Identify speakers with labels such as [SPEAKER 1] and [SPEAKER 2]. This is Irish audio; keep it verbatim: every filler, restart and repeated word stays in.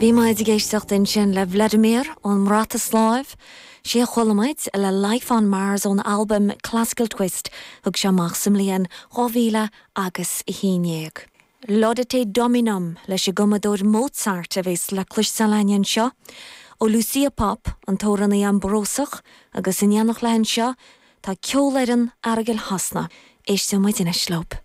[SPEAKER 1] Bhí muid ag éisteacht ansin le Vladimir ón mBrataisláiv, sé a chuala muid le Life on Mars ón albam Classical Twist thug sé amach sa mbliain dhá mhíle agus a haon déag. Laudate Dominum leis an gcumadóir Mozart a bheas le cloisteáil againn anseo, ó Lucia Popp an t-amhránaí Ambrósach agus in éineacht léi anseo tá ceolfhoireann Aireagail Shasana. Éisteann muid anois leo.